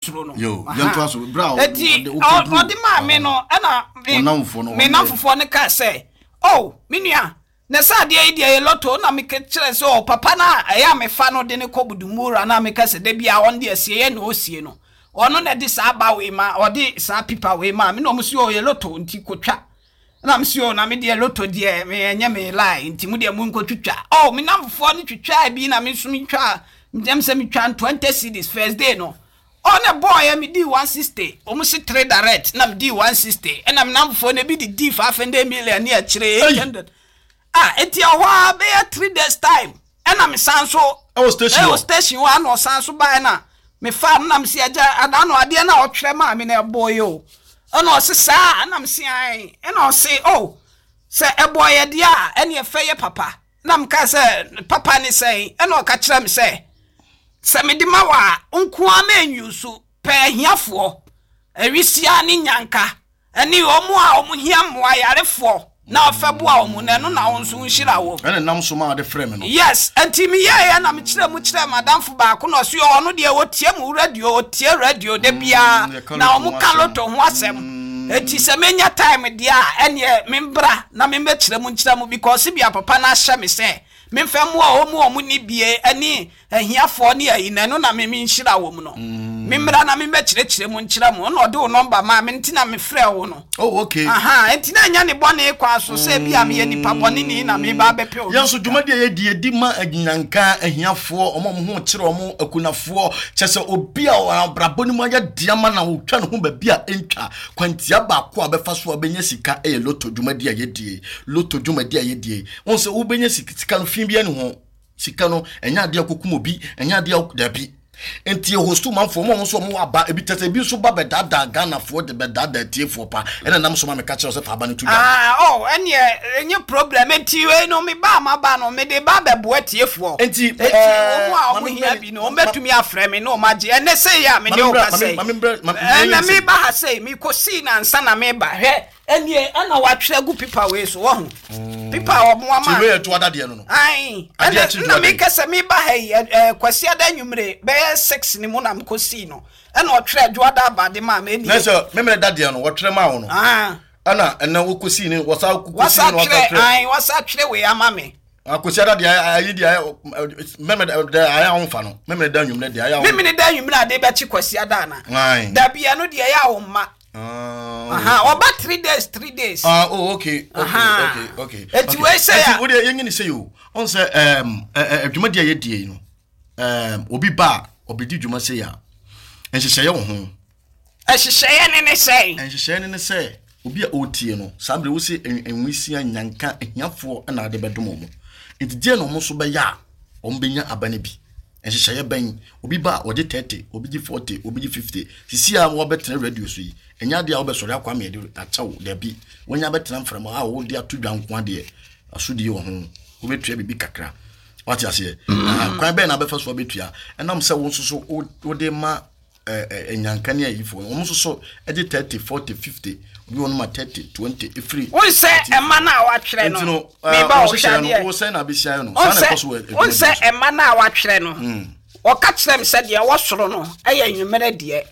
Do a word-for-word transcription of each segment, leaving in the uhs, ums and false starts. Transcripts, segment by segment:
Suro no. Yo, Aha. yɛntoa so. Berɛ a Eti ɔde- ɔ- wokɔduru- ɔde maa me no, ɛna me Wo namfoɔ no, me wɔn namfofoɔ no kaa sɛ, "Oh, me nua, na sɛ adeɛ yi deɛ yɛ lotto." Na meka kyerɛ sɛ, "Oh, papa no a ɛyɛ a mefa no de ne kɔ Budumura na meka sɛ da bia ɔno deɛ sie yɛ na ɔsie no, ɔno na ɛde saa ba wei ma, ɔde saa pipa wei ma me." Na ɔmo si, "Oh, yɛ lotto nti kotwa." Na me si, "Oh, na me deɛ, lotto deɛ, me ɛnyɛ me line, nti mo deɛ mo nkɔ twitwa." Oh, me namfofoɔ no twitwa bi na me nso metwa ntɛm sɛ metwa twenty cedis first day no. Ɔne bɔɔyɛ me di one sixty. Ɔmo si three direct na me di one sixty, ɛna me namfofoɔ no ebi de di five hundred million ne akyire eight hundred. Ah, eti ɛhɔ a bɛyɛ three days time, ɛna me san so Ɛwɔ station ɛwɔ hɔ. station hɔ, ana ɔsan so baa, ɛna me fa no na me si, "Agya, ada no adeɛ na ɔtwerɛ maa me na ɛbɔ yi o." Ɛna ɔsi saa, ɛna me si ae. Ɛna ɔsi, "Oh, sɛ ɛbɔ yɛ deɛ a, ɛne ɛfɛ yɛ papa." Na me ka sɛ, "Papa ne sɛn?" Ɛna ɔka kyerɛ me sɛ, sɛ mede ma wɔ a, nkoa ma enyu so pɛ ahiafoɔ, awisia ne nyanka ɛne wɔn a wɔn hia mmoa, yarefoɔ, na ɔfɛ boa wɔn, na ɛno na wɔn nso nhyira wɔn. Ɛna nam so ma ɔde frɛ me no. Yes, nti meyɛeɛ na mekyerɛ mu kyerɛ madamfo baako na ɔso ɔno deɛ wɔtie mu radio, ɔtie radio da biara. Yɛka na lotto ɔmo ho ka asɛm. Lotto ho asɛm, eti sɛ menya time deɛ a, ɛneɛ membra na membɛkyerɛ mu nkyerɛ mu, because bia papa no ahyɛ me sɛ memfɛ mmoa ɔmu ɔmo ni bie ɛne ahiafoɔ ne ayi, na ɛno na me menhyira wɔ mu no, memmra na membɛkyerɛkyerɛ mu nkyerɛ mu. Ɛna ɔde wo number maa me, nti na mefrɛ wo no. Oh, okay. Aha, nti na ɛnyɛ ne bɔne kwan so sɛ bi a meyɛ nipa bɔne ni na meba abɛpɛ obi. Yɛn nso dwumadi a yɛdi, yɛdi ma anyinanka, ahiafoɔ, ɔmo a ɔmo ho kyerɛ ɔmo, akunafoɔ, kyɛ sɛ obi a abrabɔ no mu ayɛ deɛ ama na wotwa ne ho baabi a ɛntwa kwantia. Baako a bɛfa so a bɛnya sika ɛyɛ lotto dwumadi a yɛdie. Lotto dwumadi a yɛdie, wɔn sɛ wobɛnya sika, sika no fi bi ani ho, sika no ɛnyɛ adeɛ kokum obi, ɛnyɛ adeɛ dabi. Nti hostu manfoɔ mo a wɔn nso wɔn aba ebi tɛ sɛ ebi nso ba bɛdaadaa Ghanafoɔ de bɛdaadaa tiefoɔ pa, ɛna nam so ma meka kyerɛ sɛ fa aba no to dwa. Ah, oh, ɛneɛ ɛnyɛ problem. Nti wei no, me ba ma ba no, mede ba bɛboa tiefoɔ. Nti, eti eh, wɔn a ma wɔn me hia mbrɛ- bi no, wɔn bɛtumi afrɛ me na wɔn agye. Ɛnɛ sɛ yɛ a mede Ma me wo mbrɛ- ka sɛ ma me mbrɛ- ma- ɛna me- me ba ha sɛ me kɔ sii na nsa na me ba. Hwɛ, ɛneɛ ɛna watwerɛ agu pipa wei so, wɔho pipa a wɔn ama. Ti wei yɛ to adadeɛ no no Ayi, Adeɛ ɛna akyi na dua. Meka sɛ meba ha yi, ɛ ɛ Kwasi ada anwummere bɛyɛ six ne mu na mekɔ sii no, ɛna ɔtwerɛ adwoada abade maa me. Na ɛnie sɛ memene dadeɛ no wɔtwerɛ maa wo no, ah ɛna ɛnɛ wokɔsii ne wɔsa kɔsii wasa ne wɔsa twerɛ twerɛ. Ayi, wasa twerɛ wei ama me. Akosi ada deɛ, ayi deɛ, memene deɛ ayɛ ahomfa no, memene da anwummerɛ deɛ ayɛ ahomfa. Memene da anwummere ade bɛkye Kwasi ada ana? Aye. Dabi, ɛno deɛ ɛyɛ a wo mma. Ah, aha, ɔba three days, three days. Ah, oh, okay, okay, Aha. okay, okay. Eti okay. wei sɛ Eti a- wo deɛ yɛnyɛ ne sɛ yi o. Ɔn sɛ ɛɛm ɛ ɛ dwumadi a yɛdie yi no, ɛɛm obi ba a ɔbɛdi dwuma sɛ yi a, nhyehyɛeɛ wɔ ho. Ɛhyehyɛeɛ ne ne sɛn? Nhyehyɛeɛ ne ne sɛ obi a ɔretie no saa bere wosi nwisia, nyanka, ahiafoɔ ɛna ade bɛdom wɔn. Nti deɛ na wɔn nso bɛyɛ a wɔn bɛnya aba no bi. Nhyehyɛeɛ bɛn? Obi ba a ɔgye thirty, obi gye forty, obi gye fifty. Sisi a wɔbɛtena radio so yi, ɛnyɛ adeɛ a wɔbɛsɔre akɔ ama yɛde akyɛw dabi. Wɔnya bɛtena mframa a wɔde ato dwa nko adeɛ asodie wɔ ho, wobɛtua biribi kakra, wate aseɛ? Ah, kwan bɛn na abɛfa so abɛtua? Ɛnam sɛ wo nso so wo- wode ma ɛ, ɛ, nyanka ne ayifoɔ no, wɔn nso so ɛgye thirty, forty, fifty, obi wɔn ma thirty, twenty efiri. Wo sɛ ɛma no a watwerɛ Nti no, no meba wɔn wo hwɛ hyehyɛ no adeɛ. wo sɛn na abɛsia no saa na ɛkɔ so wɔ adwuma wo bi sɛ so. ɛma no a watwerɛ no, ɔka kyerɛ me sɛ deɛ ɛwɔ soro no ɛyɛ anwummerɛ deɛ,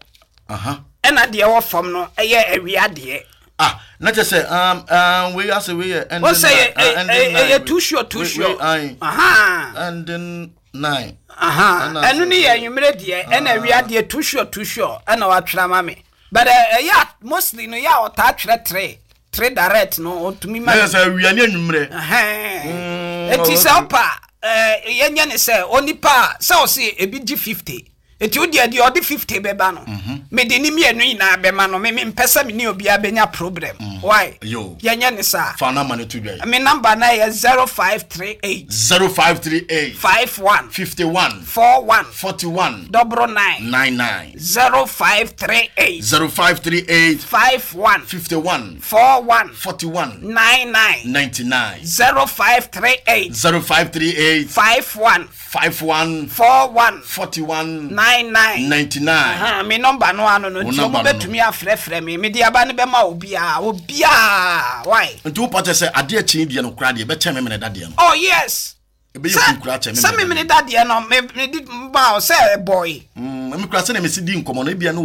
Aha. ɛna deɛ ɛwɔ fam no ɛyɛ awia deɛ. Ah, na kyerɛ sɛ um, um, wei asɛ wei yɛ ending Wo sɛ nine, ah, yɛ ending nine, ɛyɛ too sure, too wei- sure. wei, aye. Aha. Ending nine. Aha. Ɛna Ɛno ne sɛ- yɛ anwummerɛ deɛ, ɛna awia deɛ, too sure, too sure, ɛna watwerɛ ama me. But ɛ, ɛyɛ a mostly no, yɛ a ɔtaa twerɛ three three direct no, ɔtumi ma. Na kyerɛ sɛ awia ne anwummerɛ. Ɛhɛn. Mm, Eti sɛ okay. ɔpa ɛɛ yɛnyɛ ne sɛ onipa a sɛ ɔsi ebi gye fifty, eti o deɛ deɛ ɔde fifty bɛba no, mede ne mmienu nyinaa bɛma no. Me me mpɛ sɛ me ne obiara bɛnya problem. Why? Yo. Yɛnyɛ ne saa. Fa number no to dwa yi. Me number na yɛ zero five three eight. Zero five three eight. five one. Fifty one. four one. Forty one. double nine. Nine nine. zero five three eight. Zero five three eight. five one. Fifty one. four one. Forty one. nine nine. Ninety nine. zero five three eight. Zero five three eight. five one. Five one. four one. Forty one. nine nine. Ninety nine. Aha, me number no ano no. Wo Nti number ɔmo no no. bɛtumi afrɛfrɛ me, mede aba no bɛma obiaa, obiaa. Why? Nti wo pakyɛ sɛ adeɛ kyen deɛ no koraa deɛ, ɛbɛkyɛn memene dadeɛ no? Oh yes. Ɛbɛyɛ kunkura kyɛ. Sɛ memene dadeɛ no, me- mede baa sɛ ɛbɔe. Me kura sɛ na mesi di nkɔmmɔ no, ebia na